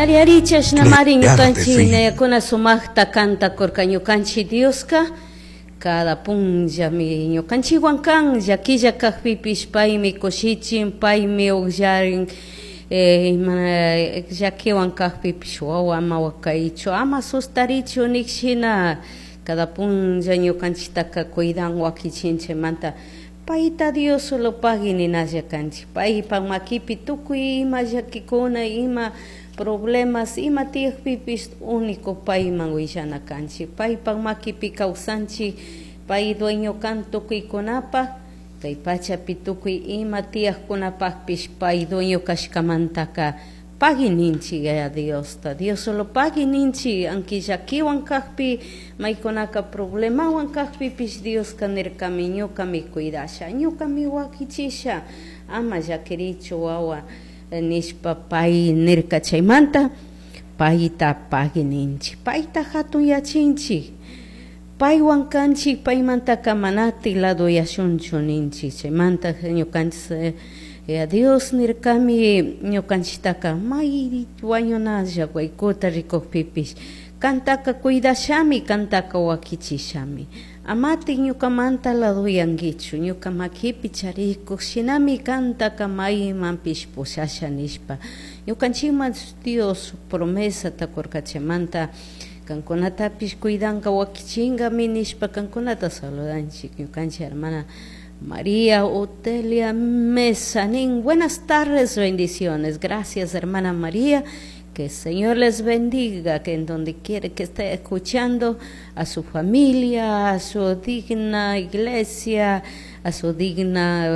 Ari ari chashnamari Crearte ñukanchik fin. nayakuna sumaqta kantakurka ñukanchik Dioska cada punllami ñukanchikwan kan llakilla kajpipish paymi kushichin paymi ukllarin ima llakiwan kajpipish wawa ama wakaychu ama sustarichu nik shina cada punlla ñukanchiktaka cuidan wakichin chaymanta payta Dios solo pagui ninalla kanchik paypak makipi tukuy ima llakikuna ima problemas ima tiyakpipish único payman willana kanchik paypak makipi kawsanchik pay dueño kan tukuykunapaq kay pachapi tukuy ima tiyakkunapaqpish pay dueño kashkamantaka pagui ninchik Yaya Diosta Dios solo pagui ninchik anki llakiwan kajpi maykunaka problemawan kajpipish Dioska nirkami ñukami cuidasha ñukami wakichisha ama llakirichu wawa nishpa pay nirka chaymanta payta pagui ninchik payta hatunyachinchik paywan kanchik paymantaka manatik ladoyashunchu ninchik chaymanta ñukanchik Dios nirkami ñukanchiktaka may wañunalla waykuta rikukpipish kantaka cuidashami kantaka wakichishami amatik ñukamanta ladoyankichu ñuka makipi charikuk shinami kantaka maymanpish pushasha nishpa ñukanchikman Dios promesata kurka chaymanta kankunatapish cuidanka wakichinkami nishpa kankunata saludanchik ñukanchik hermana María Otelia Mesa nin buenas tardes bendiciones gracias hermana María que el Señor les bendiga, que en donde quiera que esté escuchando a su familia, a su digna iglesia, a su digna.